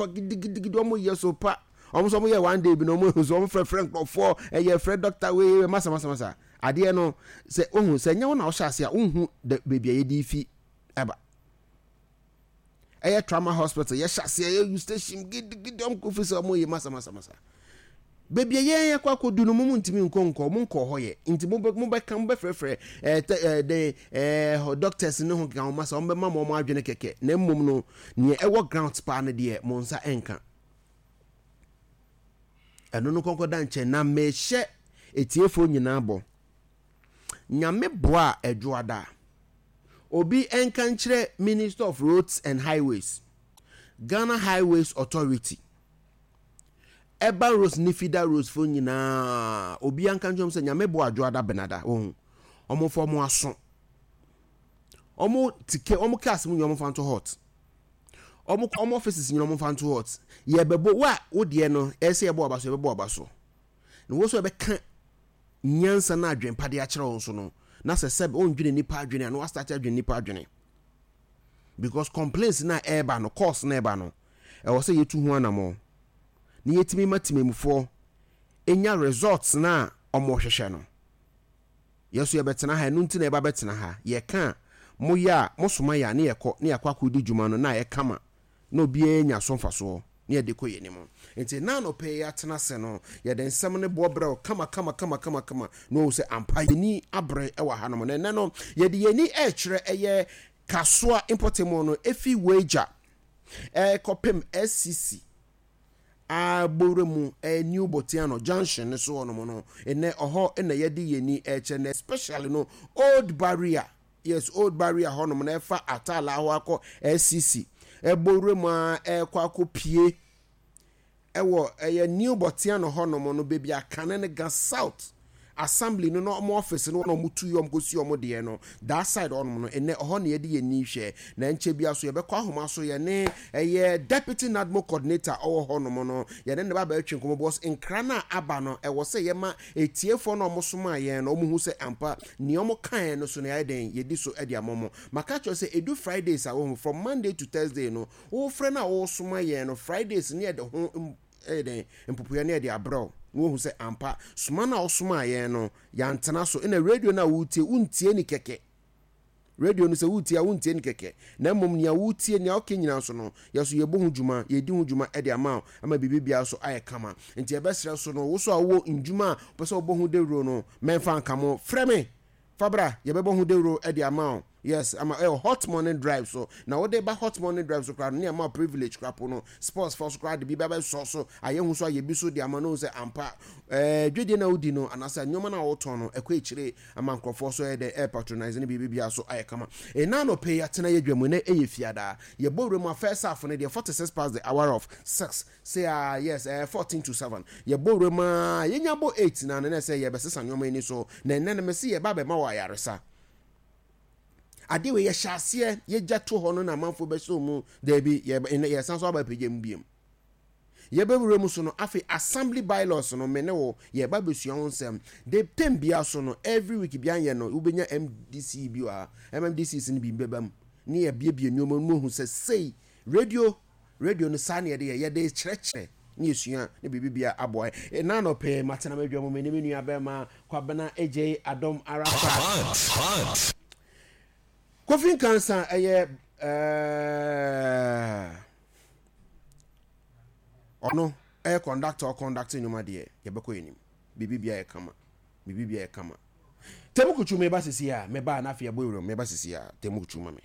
Gidigidigidi wɔn yɛ so pa. Wɔn nso wɔn yɛ one day bi na wɔn nso wɔn frɛfrɛ nkurɔfoɔ ɛyɛ frɛ doctor wei masa masa masa. Adeɛ no sɛ ohun sɛ nyɛ wɔn na ɔhyɛ ase a ohun dɛ beebi a yɛde fi ɛba. Ɛyɛ trauma hospital yɛhyɛ aseɛ yɛ station gidigidi wɔn kɔ fi sɛ wɔn yɛ masa masa masa. Baabi a yɛn akɔ akɔdu no, mo ntumi nkɔ nkɔ, mo nkɔ hɔ yɛ. Nti mo bɛ mo bɛka mo bɛfrɛfrɛ ɛɛ tɛ ɛɛ de ɛɛ doctors ne ho keka ho ma sɛ wɔn bɛma mo wɔn adwene kɛkɛ. Na mmom no, nea ɛwɔ grounds paa no deɛ mo nsa nka. Ɛno no kɔnkɔ da nkyɛn na mehyɛ etiefoɔ nyinaa bɔ. Nyame boa a ɛdwoada. Obi nka nkyerɛ Minister of Roads and Highways, Ghana Highways Authority. Ɛba Rose ne Fida Rose fo nyinaa obiara nka nkyerɛ wɔn sɛ Nyame boa Adwoada Benada wɔn wɔn fa wɔn aso wɔn tike wɔn cars mu nyinaa wɔn fa nto hot wɔn wɔn offices nyinaa wɔn fa nto hot yɛbɛbɔ wo a wo deɛ no ɛsɛ yɛbɔ aba so yɛbɛbɔ aba so na wɔn nso yɛbɛka nyansa na adwempa de akyerɛ wɔn so no na sɛ sɛ wɔndwene nipa adwene a na wɔastate adwene nipa adwene because complaints na ɛreba no calls na ɛreba no. Ɛwɔ sɛ yɛtu ho anamɔn na yɛtumi ma temamufoɔ nya results no a wɔhwehwɛ no. Yɛn nso yɛbɛtena ha, ɛno nti na yɛba bɛtena ha. Yɛka a, moyɛ a, mosoma yɛn a ne yɛkɔ na yɛakɔ akɔdi dwuma no na ayɛ kama na obiara anya so mfasoɔ na yɛde kɔ yɛn anim. Nti ɛnnɛ anɔpa yi yɛatena ase no, yɛde nsɛm no boɔ brɛ wo kama kama kama kama kama na wahu sɛ ampa yɛn ani abere wɔ hanom. Na ɛnnɛ no, yɛde yɛn ani rekyerɛ ɛyɛ Kasoa mpɔtam no, ɛfi Weija ɛrekɔpem SCC a bowura mu ɛyɛ New Botiano junction no so hɔnom no, nnɛ ɔhɔ na yɛde yɛn ani ɛrekyerɛ na especially no Old Barrier, yes Old Barrier hɔnom na ɛfa Atala hɔ akɔ SCC ɛbowura mu a ɛrekɔ akɔpie Ɛwɔ ɛyɛ New Botiano hɔ nom no baabi a kane no Ga South Assembly no na ɔmo office no na ɔmo tu yɛ ɔmo kɔ si ɔmo deɛ no that side hɔ nom no nnɛ ɔhɔ na yɛde yɛn ani hwɛ na nkyɛ bia so yɛbɛkɔ ahoma so yɛne ɛyɛ Deputy NADMO Coordinator ɔwɔ hɔ nom no yɛne no ba bɛtwe nkɔmɔ because nkra no a aba no ɛwɔ sɛ yɛma etiefoɔ no a ɔmo somaa yɛn no ɔmo hu sɛ ampa nea ɔmo kaeɛ no so no yɛayɛ dɛn yɛdi so de ama ɔmo. Maka akyerɛ wo sɛ ɛdu Fridays a wohu from Monday to Thursday no Wofrɛ no a wosoma yɛn no Fridays ne yɛde ho ɛyɛ dɛn mpopoeɛ ne yɛde abrɛ wo na woahu sɛ ampa soma no a wosomaa yɛn no yɛantena so. Ɛna radio no a wotie wontie ni kɛkɛ. Radio no sɛ wotie a wontie ni kɛkɛ na mmom nea wotie nea woka nyinaa nso no yɛ so yɛbɔ ho dwuma yɛdi ho dwuma de ama wo ama biribi biara so ayɛ kama. Nti yɛbɛsrɛ so no wo so a wowɔ ndwuma a wopɛ sɛ wobɔ ho dawuro no mɛmfa nka mo frɛ me Fa bra, yɛbɛbɔ ho dawuro de ama wo. Yes, ama ɛwɔ hot morning drive so. Na wode ba hot morning drive so koraa no, ne ama wo privilege koraa po no. Sports fɔ so koraa de bi bɛbɛsɔ so, ayɛ ho so ayɛ bi so de ama no sɛ ampa. Ɛɛ dwadie na wodi no anaasɛ nneɛma no a wotɔn no ɛkɔ akyire ama nkurɔfoɔ so ɛyɛ dɛ ɛyɛ patronise ne biribi biara so ayɛ kama. Ɛna anɔpɛ yi atena yɛ dwa mu na ɛyɛ fiada. Yɛbɔ wura mu a first half no deɛ 46 past the hour of 6. Say ah yes ɛɛ 14 to 7 yɛbɔ wura mu aa yɛnya bɔ 8 na no na ɛsɛ yɛbɛsesa nneɛma ani so na ɛnɛ no mese yɛba bɛma wɔ ayaresa adeɛ wei yɛhyɛ aseɛ yɛgya to hɔ no na amanfoɔ bɛsɛ mu daabi yɛsan so aba apagya mu biom yɛbɛwura mu so no afei assembly bylaws no me ne wo yɛba bɛsua ho nsɛm de tem bia so no every week bia yɛ no wobɛnya mdc bi wɔ ha mmdcs no bi bɛba mu ne yɛbiebie nneɛma no mu ahu sɛ sei radio Radio no saa na yɛde yɛ, yɛde kyerɛkyerɛ ne yɛsua ne biribi bia aboa yɛn. Ɛna anɔpɛ yi matena m'adwa mu me ne me nua bɛrima Kwabena Adjei Adom Arafat. Kofi Nkansa ɛyɛ ɛɛ ɔno ɛyɛ conductor ɔconduct nnwuma deɛ yɛbɛkɔ yɛn anim biribi bia yɛ kama biribi bia yɛ kama. Temu kutu meba sisi a meba na afei ɛbɔ ewuram meba sisi a temu kutu ma me.